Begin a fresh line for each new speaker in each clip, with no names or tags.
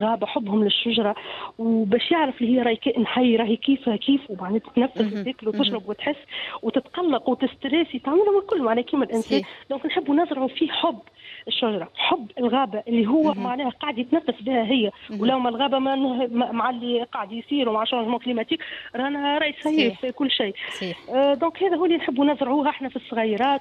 الغابة، حبهم للشجرة، وباش يعرف اللي هي راهي كائن حي، راهي كيفها كيف، ومعناها تتنفس وتاكل وتشرب وتحس وتتقلق وتستريسي، تعملهم الكل معناها كيما الانسان. donc نحبوا نزرعوا فيه حب الشجره، حب الغابة اللي هو معناها قاعد يتنفس بها هي، ولو ما الغابة ما مع اللي قاعد يصير ومع changement climatique رانا راهي صحيح في كل شيء. Donc هذا هو اللي نحبوا نزرعوه احنا في الصغيرات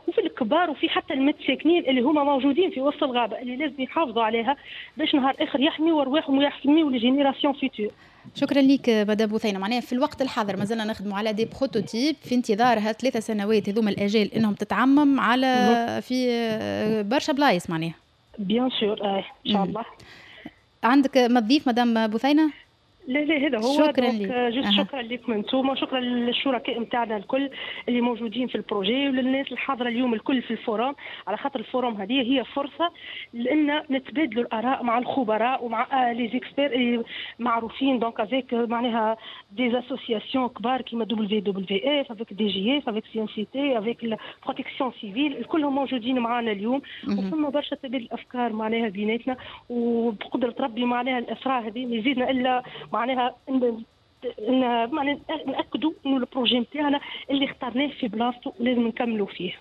وفي الكبار وفي حتى المتساكنين اللي هما موجودين في وسط الغابه، اللي لازم يحافظوا عليها باش نهار اخر يحميوا ارواحهم ويحميوا les générations futures.
شكرا لك مدام بثينه. معناها في الوقت الحاضر مازلنا نخدموا على des prototypes في انتظار 3 سنوات هذوما الاجال انهم تتعمم على في برشا بلايص معناها.
bien sûr، ان شاء الله.
عندك ما تضيف مدام بثينه؟
لا لا، هذا هو.
شكرا لك.
juste شكرا لكم انتم، وشكرا للشركاء نتاعنا الكل اللي موجودين في ال projet وللناس الحاضرة اليوم الكل في ال forum، على خاطر ال forum هذه هي فرصة لان نتبادلوا الاراء مع الخبراء ومع les experts اللي معروفين، donc avec معناها des associations كبار كيما WWF، افيك دي جي اف، افيك سي ان سي تي، افيك بروتيكسيون سيفيل، الكلهم موجودين معنا اليوم. وفما برشا تبادل الافكار معناها بيناتنا، وبقدره ربي معناها الاسراء هذه ما يزيدنا الا معناها ان معناها ناكدوا انه ال projet نتاعنا اللي اخترناه في بلاصته ولازم نكملوا فيه.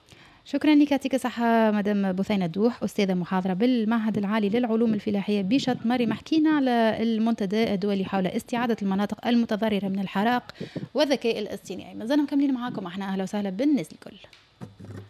شكرا لك، يعطيك الصحة مدام بثينة الدوح، أستاذة محاضرة بالمعهد العالي للعلوم الفلاحية بشط مريم. حكينا على المنتدى الدولي حول استعادة المناطق المتضررة من الحرائق والذكاء الاصطناعي. مازلنا مكملين معاكم احنا، أهلا وسهلا بالناس الكل.